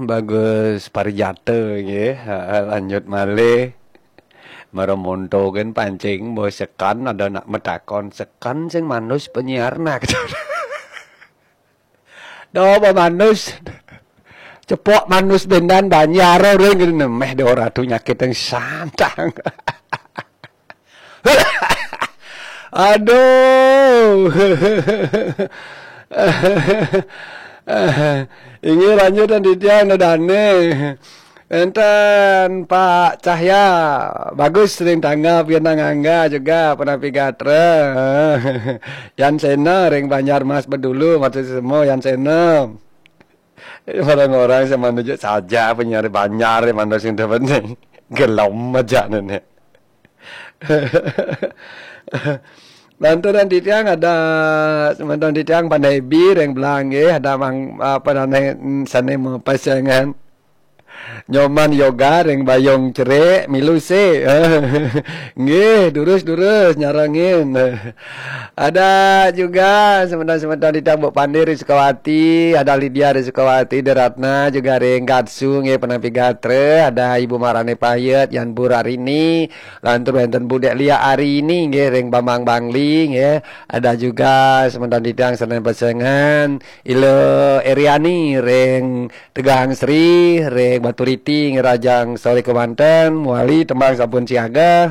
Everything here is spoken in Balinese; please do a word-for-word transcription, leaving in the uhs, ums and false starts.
Bagus Parijata nggih. Ha, lanjut malih. Mara monto kan pancing, mbok sekan ada nak metakon, sekan sing manus penyiar nak. Do apa manus? Cepok manus bendan banjar ring nemeh do ratu nyakit yang santang. Aduh. Inggih lanjut dan titiang no dane. Enten Pak Cahya, bagus ring tanggap, yen Angga juga, Penapi Gatra. Yan Sena ring Banjar Mas bedulu, maksud semua Yan Sena. Barang orang sing manujuk saja penyiar Banjar, mantu sing penting. Gelem aja nene. Lanturan titiang ada semeton titiang Pandai Bi ring Belang nggih, ada mang apa nane sane mapesengan. Nyoman Yoga ring Bayung Cerik milu se. Nggih, durus-durus nyarengin. Ada juga semeton-semeton titiang Bu Pandi ring Sukawati, ada Lydia ring Sukawati, Deratna juga ring Gatsu nggih, Penapi Gatra, ada Ibu Marane Payet, Yan Burarini, lantur wenten Budek Lia Arini nggih ring Bambang Bangli nggih. Ada juga semeton titiang sane pesengan Ila Eriani ring Tegang Sri, ring Baturiti nggih, rahajeng sore kemanten, mawali tembang sampun siaga.